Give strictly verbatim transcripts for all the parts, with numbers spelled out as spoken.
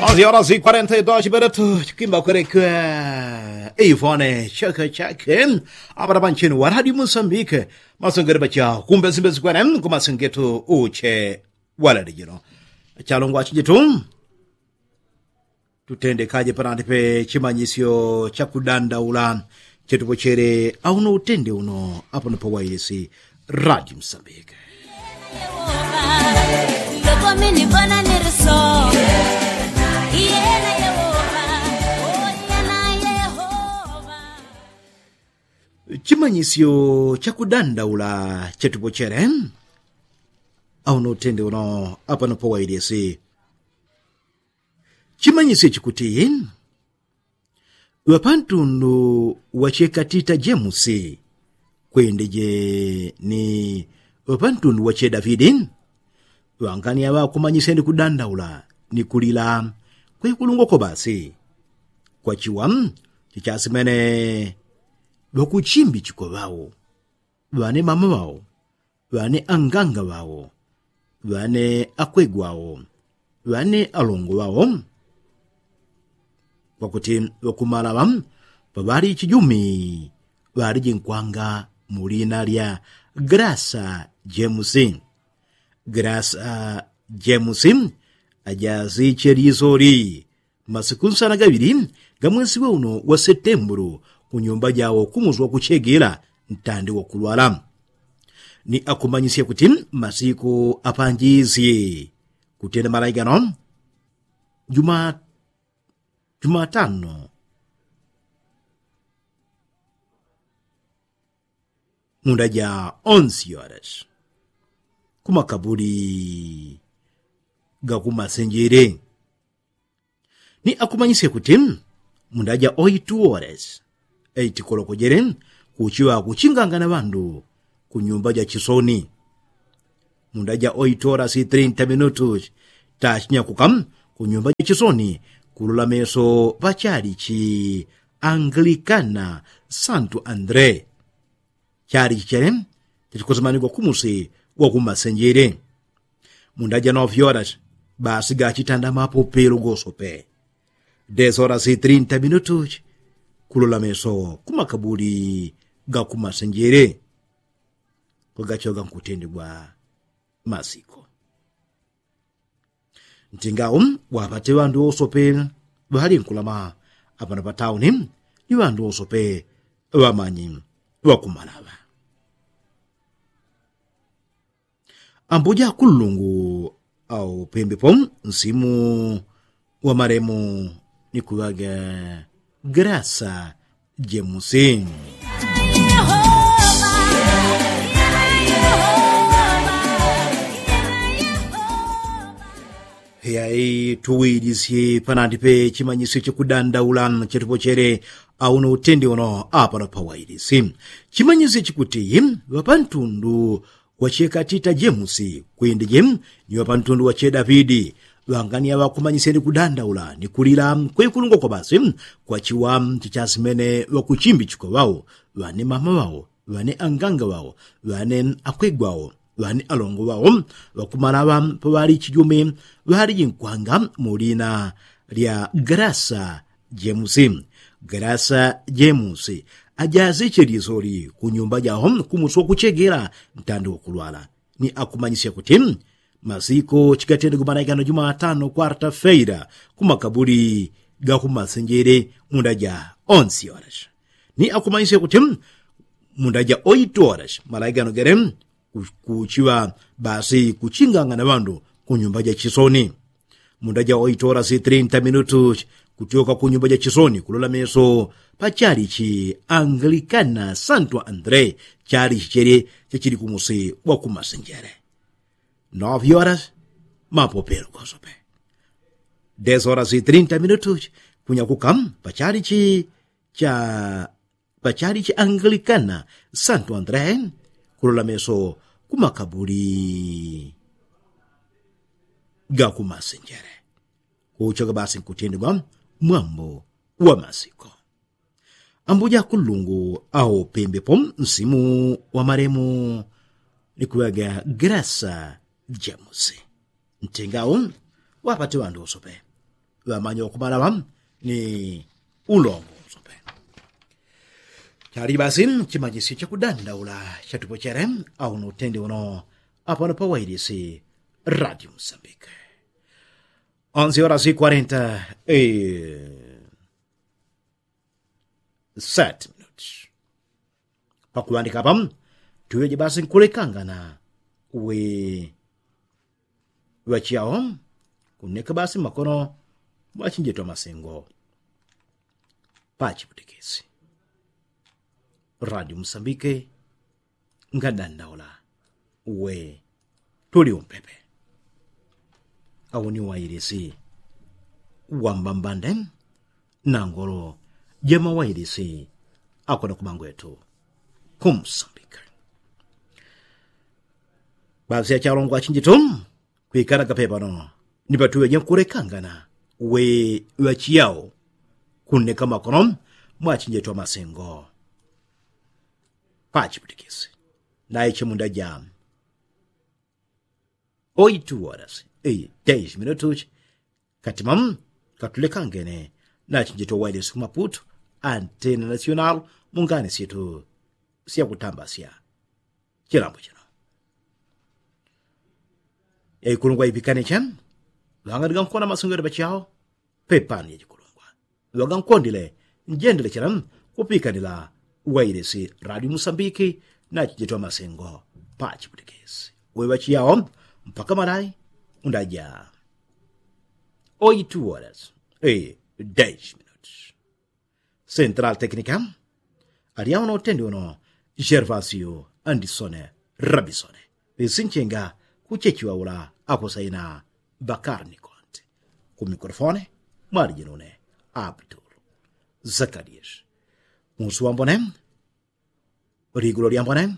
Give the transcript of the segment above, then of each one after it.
Onzi ora si kwarenta i dos minutu chikimba kwerekwe. Ivone cheke cheke. Apana panchini waradi musambike. Masongere pacha kumbesimbesi kwene kumasengetu uche. Waladi jino chalongwa chijitu. Tutendekaje panandi pe chimanyisyo chakudandaula chetupochere auno utende uno. Apano pawailisi radi musambike. Chimanyisyo chakudandaula chetupochere auno utende uno. Apano pawailisi chimanyisyo chikuti ŵapantundu wachekatita jemusi kwendeje ni ŵapantundu wache davidi. Ŵangani aŵa kumanyisya ni kudandaula ni kulila kwekulungwa kwa basi. Kwachiwa chichasimene ŵakuchimbi chikwa ŵao ŵane mama ŵao ŵane anganga ŵao ŵane akwegwa ŵao ŵane alongo ŵao. Kwakuti ŵakumalaŵa paŵali chijumi ŵaliji nkwanga mu lina lya grasa jemusi. Grasa jemusi ajaziche lisoli masiku nsana gaŵili ga mwesi wa uno wa setembulu kunyumba jawo kumusi wakuchegela ntandi wakulwala. Ni akumanyisya kuti masiku apanjisye kutenda malai gano juma jumatano munda ja onsi yoras kumakabuli gakumasenjele. Ni akumanyisye kuti munda ja oitu ores eitikolokojele kuchiŵa kuchingangana ŵandu kunyumba ja chisoni. Munda ja oitu ores trinta minutus tachinyakuka kunyumba ja chisoni kulola meso ŵachalichi angilikana santu andre. Chali chichele chachikosemanigwa kumusi wakumasenjele. Munda ja novi horas basi gachitanda mapopelo gosope. Des horas trinta minutus kulola meso kumakabuli gakumasenjele kwagachoga nkutendegwa masiko. Ntingawo wapate ŵandu wosope ŵalinkulama apano patauni ni ŵandu wosope ŵamanyi ŵakumalaŵa. Ambuja kullungu aupembepo nsimu wa malemu ni kuŵaga grasa jemusi. Yai tuwilisye panandi pe chimanyisyo chakudandaula chatupochere auno utende uno apano pawailisi. Chimanyisyo chikuti ŵapantundu wachekatita jemusi kwindeje ni ŵapantundu wache davidi ŵangani aŵakumanyisye ni kudandaula ni kulila kwekulungwa kwa basi kwachiwa chichasimene ŵakuchimbi chikwa ŵao ŵane mama ŵao ŵane anganga ŵao ŵane akwegwa ŵao ŵane alongo ŵao ŵakumalaŵa paŵali chijume ŵaliji nkwanga mu lina lya grasa jemusi. Grasa jemusi ajaziche lisoli kunyumba jao kumusi wakuchegela ntandi wakulwala. Ni akumanyisya kuti masiko chigatendegwe malaikano jumatano kwarta feira kumakabuli gakumasenjele munda ja onsi horas. Ni akumanyisya kuti munda ja oitu horas malaikano gele kuchiŵa basi kuchingangana ŵandu kunyumba ja chisoni. Munda ja oitu horas trinta minutus kutyoka kunyumba ja chisoni kulola meso pachalichi angilikana santu andre chalichi chele chachili kumusi wakumasenjele. Novi horas mapopelo gosope. Des horas trinta minutus kunyakuka pachalichi cha pachalichi angilikana santu andre kulola meso kumakabuli gakumasenjele. Kuchoga basi nkutendegwa mwambo wa masiko. Ambuja kullungu aupembepo nsimu wa malemu ni kuŵaga grasa jemusi. Ntengawo wapate ŵandu wosope ŵamanya wakumalaŵa ni ulongo nsope. Chali basi chimanyisyo chakudandaula chatupochele. Auno utendi uno apano pawailisi radio msambike. Onzi ora si kwarenta seti minuti. Pakuŵandika apa tuŵeje basi nkulekangana we ŵachiyao kuneka basi makono mwachinjeto amasengo. Pachiputikisi radio msambike ngadandaula we tuli umpepe. Awo ni wailisi wambambande nangolo jamawailisi akoda kumangwetu kumsambika. Basi achalongwa achinjitu kwikalaga pepano ni patuŵeje nkulekangana we ŵachiyao kuneka makono mwachinjetu amasengo. Pachiputikisi naiche munda ja oitu horas e dez minutos. Katima katulekangene nachinjetu wailisi kumaputu antena nasional mungani syetu syakutambasya chilambo chino. Yaikulungwa ipikane chani ŵangandiga nkona masungiro ŵachiyao pepani yachikulungwa ŵagankondile njendelechela kupikanila wailisi radio musambiki nachijitwa masengo. Pachiputikisi weŵachiyao mpaka malai undaja oitu horas e dez minutos. Central técnica alyauno utendi uno gervasio andisone rabisone. Lisinchenga kuchechiwaula akosaina bakarni konti. Ku mikrofone mwalijinune abdul zakarias. Musu wambone ligulo lyambone.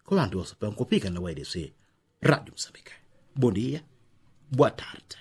Kuŵandu wose pankupika na wailisi radio musambike. Bondia bwa tarde.